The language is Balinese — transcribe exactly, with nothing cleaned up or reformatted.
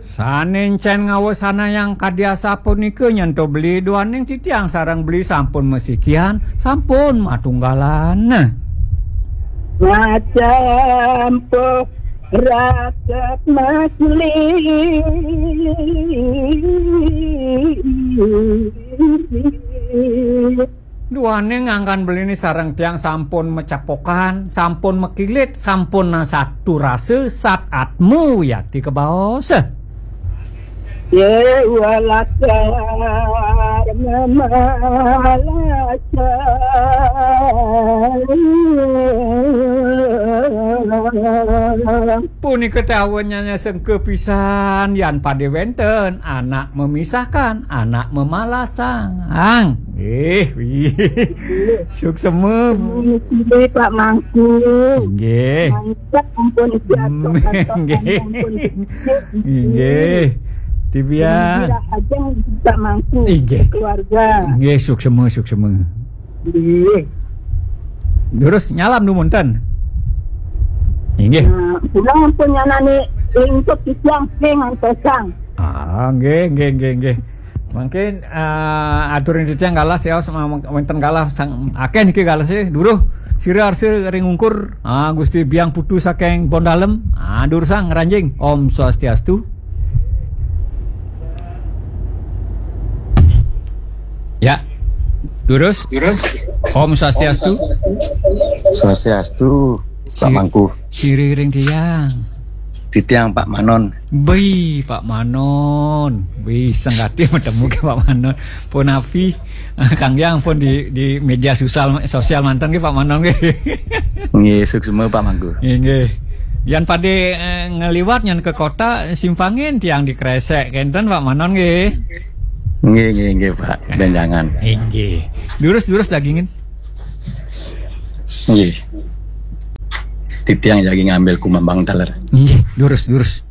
Sané encén ngawasanayang kadi asapunika nyen to beli duaning titiang sareng beli sampun masikian, sampun matunggalan. Macam po raket masli. Duaning anggan beliné sareng tiang sampun macepokan, sampun makilit, sampun nasatu rasa, sat atma wiakti kabaos. Ye walakar mamalasa. Punika tawennya sengke pisan, yan pada wénten anak memisahkan, anak memalasang. Eh, wih. Suksema. Nggih, Pak Mangku. Nggih. Mantap, ampun, jatuh, hmm, kata, nggih. Ampun. Nggih. Titiang. Gembira aja, Pak Mangku. Nggih. Keluarga. Nggih, suksema, suksema. Nggih. Terus nyalam dumun ten. Nggih. Nah, pulang ampun nyanane lingkup titiang sing antosang. Ah, nggih, nggih, nggih, nggih. Mungkin, eh, aturin titiang galah sios, ma-, wénten galah sang akeh niki galah sih. Duruh sira arsa ring ungkur, ah, Gusti Biang Putu saking Bondalem. Ah, durusang ngranjing. Om Swastiastu. Ya. Durus. Om Swastiastu. Swastiastu, Pak Mangku. Siriring tiang. Titiang Pak Manon. Bi, Pak Manon. Bi, senggati matemu ke Pak Manon. Punapi, Kang Yang pun di, di media sosial, sosial manten ke Pak Manon ke. Nggih, suksema Pak Mangku. Nggih. Yan pada, eh, ngeliwat nyan ke kota, simpangin tiang di Kresek. Kenten Pak Manon nggih. Nggih, nggih, nggih, Pak. Benjangan. Nggih. Durus-durus dagingin. Nggih. Titiang jagi ngambil kumambang taler. Nggih, durus, durus.